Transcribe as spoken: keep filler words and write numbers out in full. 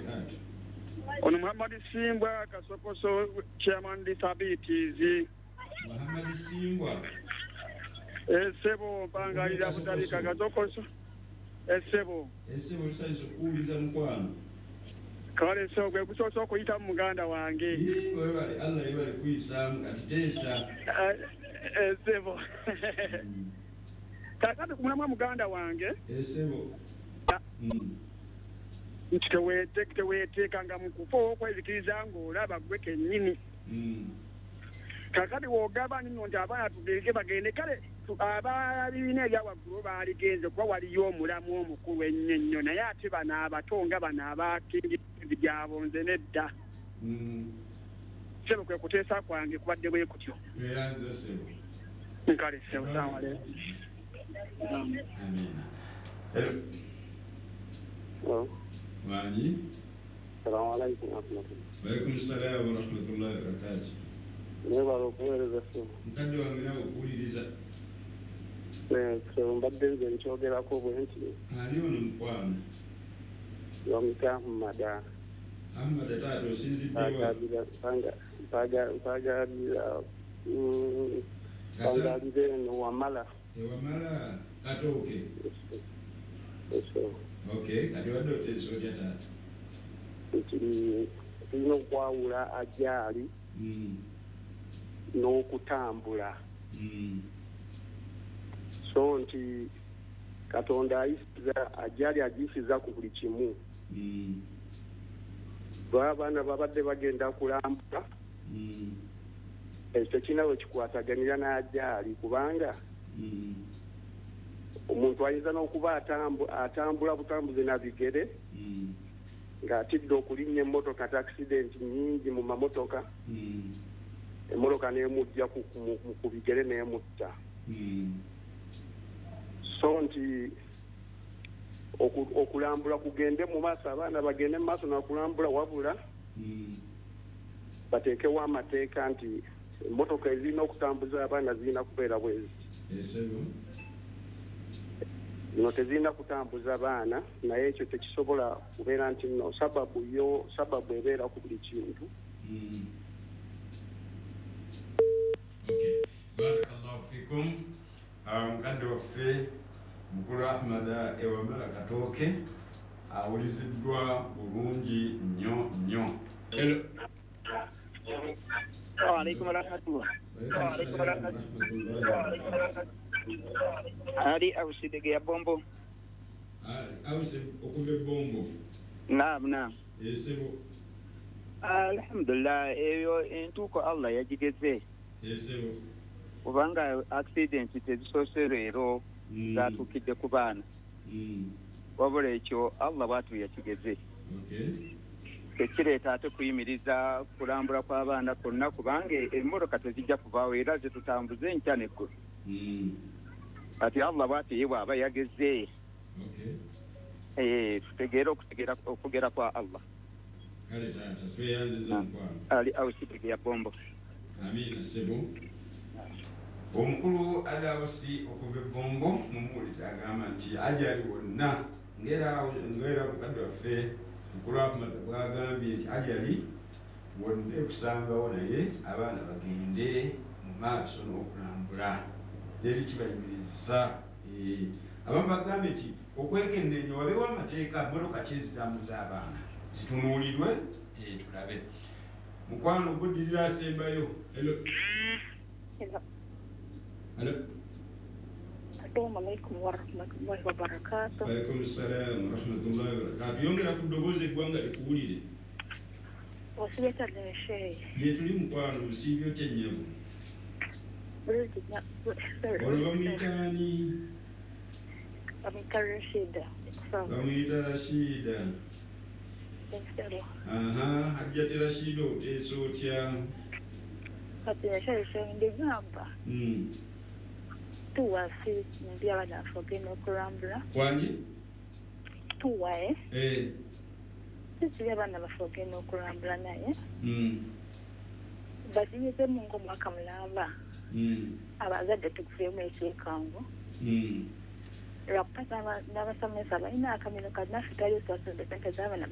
Wabarakatuh. Ono Muhammad Simbwa Kasokoso, chairman disabilities. Muhammad Simbwa. Esebo mpangalira Butabika Kasokoso. Esebo. Esebo tusanyuse okuwuliza, mukwano. Kale so gwe gusoose okuyita mu muganda wange. Ii, webale, Allah yebale kuyisaamu. Kati teesa. Esebo. Kakati ku mulamwa, muganda wange, Esebo. Mm. nti teweete- teweeteekanga mu kufa okwezikiriza ng'olaba gwe kennyini. Mm. Kakati wogamba nno nti abaana tugenge bagende, kale tu- ababiina ebya waggulu baaligenze kuba waliyo omulamu omukulu ennyo ennyo, naye ate bano abato nga bano abakingizi gyabonze nedda. Mm. Sebo, kwe kuteesa kwange kubadde bwe kutyo. Tweyanziza, sebo. Nkale sebo, salamu aleikum. Amina. Hello. Wangi. Salamu alaikum warahmatullahi. Walaikum salaam warahmatullahi wabarakatuh. Mwebale okuweereza, ssebo. Mukadde wange, nawe okuwuliriza. Ssebo, mbadde nze nkyogerako bwe nti Ani ono, mukwano? Bamuyita Ahmada. Ahmad, taata, osinziddewa? Mpagalira Kasa mpangalira eno Wamala. Ewamala Katooke. Ssebo. Okay, kati wadde oteesa otya, taata? Nti tulina okwawula ajaali Mm. n'okutambula. Mm. So nti Katonda ayisiza ajaali, agiyisiza ku buli kimu. Mm. Lwa abaana babadde bagenda kulambula, Mm. ekyo tekirina we kikwataganira n'ajaali, kubanga Mm. omuntu ayinza n'okuba atambu- atambula butambuzi na bigere Mm. ng'atidde okulinnya emmotoka, ti accident nyingi mu mamotoka, Mm. emmotoka n'emujja ku, ku, ku- ku bigere n'emutta. Mm. So nti oku- okulambula kugende mu maaso, abaana bagende mu maaso nakulambula, wabula Mm. bateekewo amateeka nti emmotoka ezirina okutambuza abaana zirina kubeera bwezi, Esebo. zino tezirina kutambuza baana. Naye ekyo tekisobola kubeera nti nno sababu yo sababu ebeera ku buli kintu. Mm. Okay. Barakallahu fikum. Ah, mukadde waffe mukulu Ahmada Ewamala Katooke awuliziddwa bulungi nnyo nnyo. Hello. Waalaikum warahmatullah. Walaikum salaam warahmatullahi wabarakatuh. Ali Ausidege ya Bombo. Ah, Ausi okuva e Bombo. Naam, naam. Esebo. Alhamdulillah, eyo entuuko Allah yagigeze. Esebo. Kubanga accident tezisoose leero Mm. zatuukidde ku baana. Mm. Wabula ekyo Allah bw'atyo yakigeze. Okay. Tekireeta ate kuyimiriza kulambula kw'abaana kwonna, kubanga emmotoka tezijja kuvaawo era zitutambuze enkya n'eggulo. Mm. Kati Allah bw'atyo ye bw'aba yageze. Okay. Eh, tutegeere okutegeera okugera kwa Allah. Kale taata, tweyanziza, mukwano. Ali Ausidege ya Bombo. Amiina, ssebo. Omukulu Alawusi okuva e Bombo mumuwulidde, agamba nti ajali wonna, ngera ngera mukadde waffe mukulu Ahmad bwagambye nti ajali wonna ekusangawo, naye abaana bagende mu maaso n'okulambula, teri kibayimirizisa. Eh, abamu bagambye nti okwekenneenya wabeewo amateeka, mmotoka ki ezitambuza abaana zitunuulirwe, eh, tulabe. Mukwano, guddirira asembayo. Hello. Hello. Hello. Assalamu alaikum warahmatullahi wabarakatuh. Walaikum salam warahmatullahi wabarakatuh. Yongera ku ddoboozi eggwanga likuwulire. Osibye shehe? Gye tuli, mukwano. Musiibye otya, nnyabo? Bulungi nnyo. Olwo bamuyita ani? Bamuyita Rashida. Bamuyita Rashida. Aha, Hajjati Rashida, oteesa otya? Kati shehe, ndigamba Mm. tuwasi ndi abaana baffe ogenda okulambula. Wangi? Tuwae. Eh. Sisi abaana baffe ogenda okulambula, naye Mm. bakiyizemu ng'omwaka mulamba. Mm. Abazadde tugufuemu ekyekango. Mm. Lwakuba n'abasomesa balina akamiro kati naffe twali twasomesa sente z'abaana.